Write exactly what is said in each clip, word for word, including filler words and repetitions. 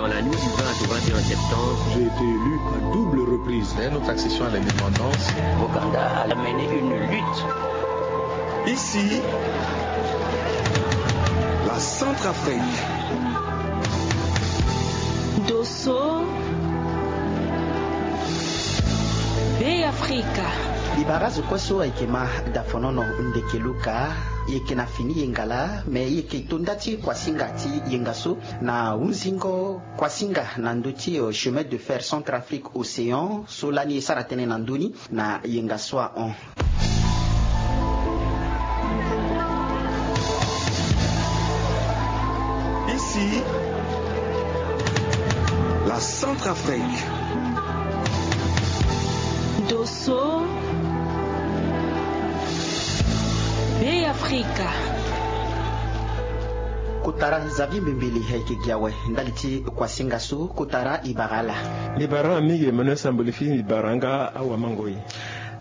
La nuit du vingt au vingt et un septembre, j'ai été élu à double reprise. Dès notre accession à l'indépendance, Ouganda a mené une lutte. Ici, la Centrafrique. Dosso, Be Afrika. Libara zo kue so ayeke ma dafonono ndeke luka, e yeke na fini yenga laa, me e yeke to nda ti kuasinga ti yenga so na hunzingo kuasinga na ndö ti, euh, chemin de fer Centrafrique Océan so lani e sara tënë na ndö ni na yenga so ahon. Ici, la Centrafrique. Dosso, Be Afrika. Kotara Xavier Mbembele ayeke gi awe ndali ti kuasinga so. Kotara, e bara ala. Mbi bara mingi Emmanuel Samboli, fini mbi bara nga awamangoi.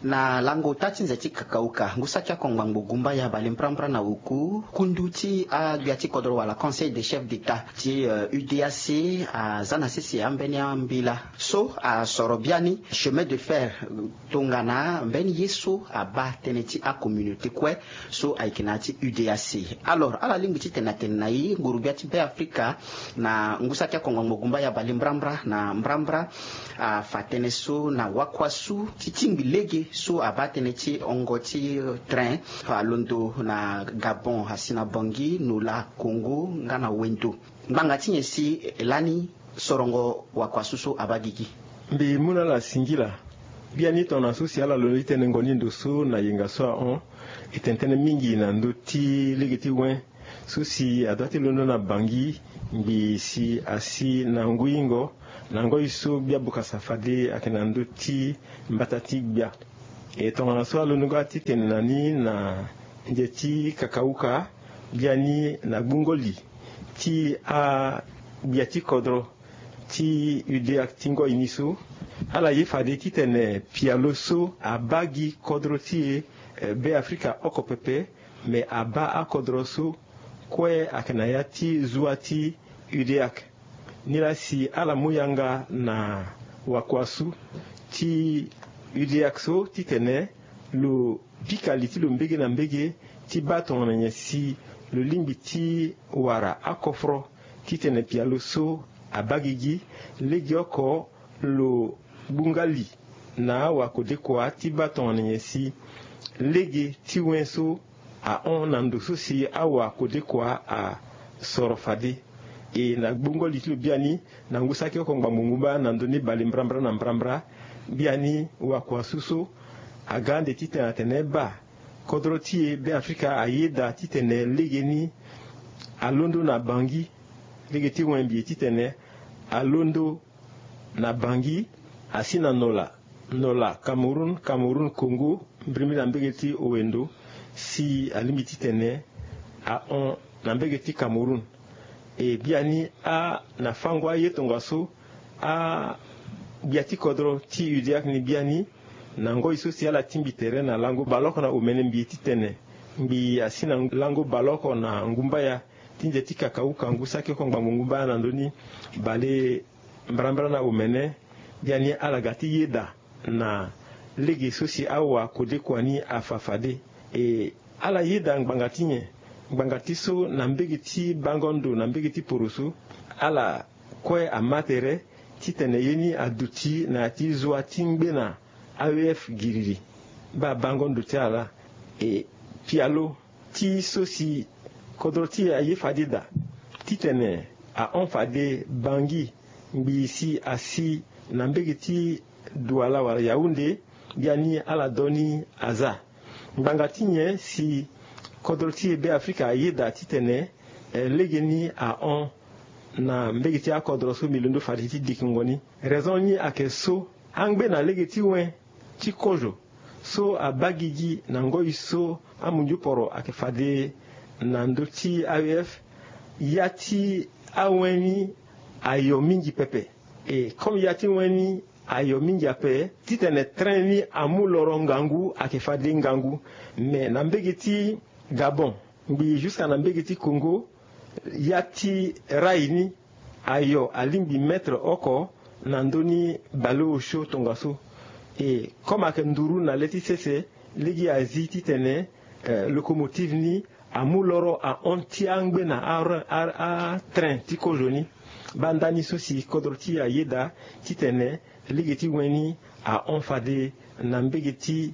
Na lango ota ti nze ti kakauka, ngu saki akongba ngbongbongba ya bale mbrambra na oku, kundu ti agbia ti kodro wala Conseil des chefs d'État ti, euh, U D A C aza na sese ambeni ambila so asoro biani chemin de fer, euh, tongana mbeni ye so abaa tënë ti acommunauté kue so ayeke na ya ti U D A C. Alors, ala lingbi titene atene na e, nguru-gbia ti Be Afrika na ngu saki ti akongba ngbongbongba ya bale mbrambra na mbrambra afa tënë so na wakuasu ti tingbi lege so abaa tënë ti hongo ti train alondo na Gabon asi na Bangui, Nola, Congo nga na wendo. Ngbanga ti nyen si lani sorongo wakuasu so abaa gigi? Mbi mu na ala singila. Biani tongana so si ala londo ti tene ngoni ndo so na yenga so ahon, e tene tënë mingi na ndö ti lege ti wen so si adua ti londo na Bangui ngbii si asi na nguingo na ngoi so gbia bokasa fade ayeke na ndö ti mbata ti gbia. E tongana so alondo nga titene na ni na nze ti kakauka, biani na gbungo li ti agbia ti kodro ti U D A C ti ngoi ni so, ala ye fade titene pialo so abaa gi kodro ti e, eh, Be Afrika oko pepe, me abaa akodro so kue ayeke na ya ti zua ti U D A C. Nilaa si ala mu yanga na wakuasu ti U D A C so titene lo pika li ti lo mbege na mbege ti baa tongana nyen si lo lingbi ti wara akoforo titene pialo so abaa gigi. Legeoko lo gbu nga li na awakodekua ti baa tongana nyen si lege ti wen so ahon na ndo so si awakodekua asoro fade. E na gbungo li ti lo biani, na ngu saki oko ngbangbo ngumba na ndö ni bale mbrambra na mbrambra, biani wakuasu so aga ande titene atene baa kodro ti e Be Afrika ayeda titene legeni alondo na Bangui. Lege ti wen mbi ye titene alondo na Bangui, asi na Nola, Nola Cameroun, Cameroun Congo, mbirimbiri na mbege ti Owendo, si alingbi titene ahon na mbege ti Cameroun. E biani a na fango aye tongaso agbia ti kodro ti U D A C ni biani, na ngoi so si ala tingbi tere na lango baleoko na omene mbi ye titene ngbii asi na lango baleoko na ngumbaya ti nze ti kakauka ngu saki oko ngbangbo ngumbaya na ndö ni bale mbrambra na omene, biani ala ga ti yeda na lege so si awakodekua ni afa fade. E ala yeda ngbanga ti nyen? Ngbanga ti so na mbege ti bango ndo na mbege ti poroso, ala kue ama tere titene ye ni aduti na ya ti zua ti ngbena A E F giriri. Baa bango ndo ti ala, e pialo ti so si kodro ti e aye fade daa titene ahon fade Bangui ngbii si asi na mbege ti Douala wala Yaoundé, biani ala do ni aza. Ngbanga ti nyen si kodro ti e Be Afrika aye daa titene, eh, legeni ahon na mbege ti akodro so mbi londo fade ti dikingo ni? Raison ni ayeke so, angbe na lege ti wen ti kozo so abaa gigi na ngoi so amunzu poro ayeke fade na ndö ti A E F, ya ti awen ni ayo mingi pepe. E comme ya ti wen ni ayo mingi ape, titene train ni amu loro ngangu ayeke fade ngangu. Me na mbege ti Gabon ngbii jusqu'à na mbege ti Congo, ya ti rail ni ayo alingbi mètre oko na ndö ni baleosio tongaso. E comme ayeke nduru na le ti sese, lege azi titene locomotive ni amu loro ahon ti angbe na atrain ti kozo ni. Baa ndani so si kodro ti e ayeda titene lege ti wen ni ahon fade na mbege ti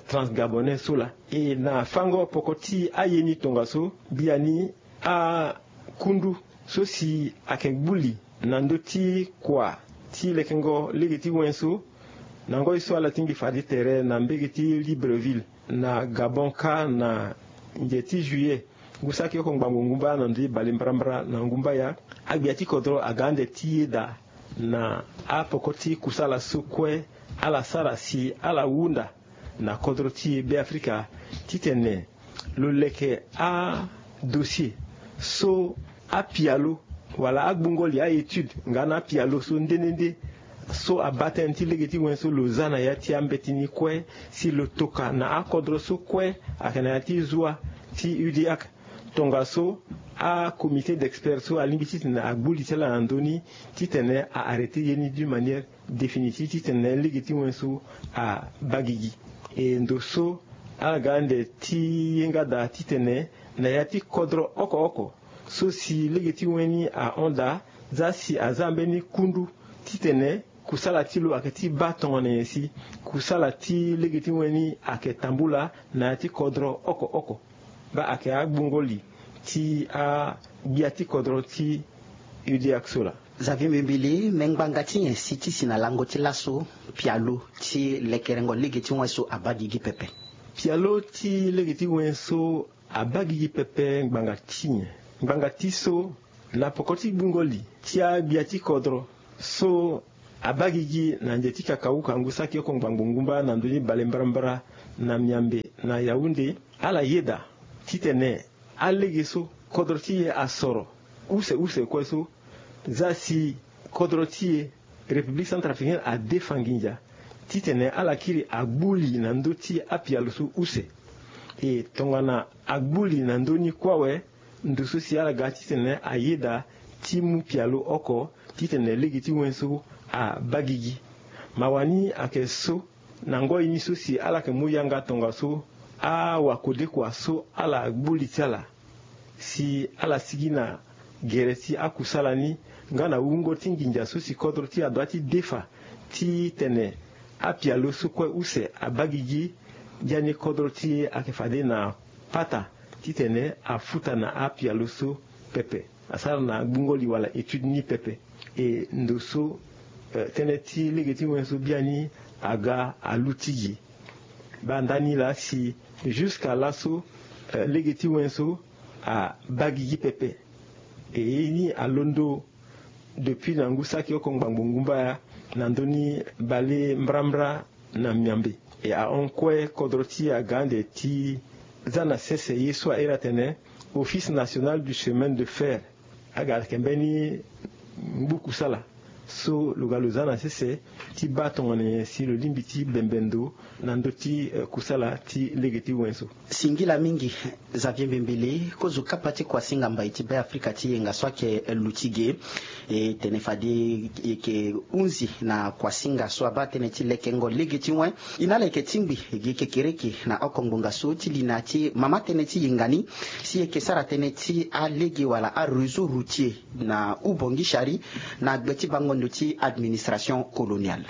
transgabonais so laa. E na fango poko ti aye ni tongaso, biani akundu so si ayeke gbuli na ndö ti kua ti lekengo lege ti wen so, na ngoi so ala tingbi fade tere na mbege ti Libreville na Gabon kâ na nze ti juillet ngu saki oko ngbangbo ngumba na ndö ti bale mbrambra na ngumba ya. Agbia ti kodro aga ande ti yeda na apoko ti kusala so kue ala sara si ala hunda na kodro ti Beafrika titene lo leke adossier so apialo wala agbungo li, a-étude nga na apialo so nde nde nde so abaa tënë ti lege ti wen so lo za na ya ti ambeti ni kue, si lo toka na akodro so kue ayeke na ya ti zua ti UDEAC. Tongaso acomité d'experts so alingbi titene agbu li ti ala na ndö ni titene a-arrêter ye ni d'une manière définitive titene lege ti wen so abaa gigi. E ndo so ala ga ande ti ye nga daa titene na ya ti kodro oko oko so si lege ti wen ni ahon daa, za si aza mbeni kundu titene kusala ti lo ayeke ti baa tongana nyen si kusala ti lege ti wen ni ayeke tambula na ya ti kodro oko oko. Baa ayeke agbungo li ti agbia ti kodro ti UDEAC so laa. Xavier Mbembele, me ngbanga ti nyen si ti si na lango ti laso pialo ti lekerengo lege ti wen so abaa gigi pepe? Pialo ti lege ti wen so abaa gigi pepe ngbanga ti nyen? Ngbanga ti so na poko ti gbungo li ti agbia ti kodro so abaa gigi na nze ti kakauka ngu saki oko ngbangbo ngumba na ndö ni bale mbarambara na Miambe na Yaoundé, ala yeda titene alege so kodro ti e asoro use use kue so, za si kodro ti e République Centrafricaine adefa nginza titene ala kiri agbu li na ndö ti apialo so use. E tongana agbu li na ndö ni kue awe, ndo so si ala ga titene ayeda ti mu pialo oko titene lege ti wen so abaa gigi. Mawa ni ayeke so na ngoi ni so si ala yeke mu yanga tongaso awakodekua so ala gbu li ti ala si ala sigi na gere ti akusala ni nga na wungo ti nginza so si kodro ti e adoit ti defa titene apialo so kue use abaa gigi. Biani kodro ti e ayeke fade na pata titene afuta na apialo so pepe, asara na gbungo li wala étude ni pepe. E ndo so tënë ti lege ti wen so biani aga aluti gi. Baa ndani laa si jusqu'à laso lege ti wen so abaa gigi pepe. E ye ni alondo depuis na ngu saki oko ngbangbo ngumba ya na ndö ni bale mbrambra na Miambe. E ahon kue kodro ti e aga ande ti za na sese ye so a iri atene Office National du Chemin de Fer. Aga ayeke mbeni ngbu kusala so lo ga lo za na sese ti baa tongana nyen si lo lingbi ti bembe ndo na ndö ti kusala ti lege ti wen so. Singila mingi Xavier Mbembele, kozo kapa ti kuasinga mbai ti Beafrika ti yenga so ayeke luti ge. E tene fade e yeke hunzi na kuasinga so abaa tënë ti lekengo lege ti wen. E na ala yeke tingbi gi kekereke na oko ngbonga so ti li na ya ti mama tënë ti yenga ni si e yeke sara tënë ti alege wala aréseau routier na Ubongi Shari na gbe ti bango ndo ti administration coloniale.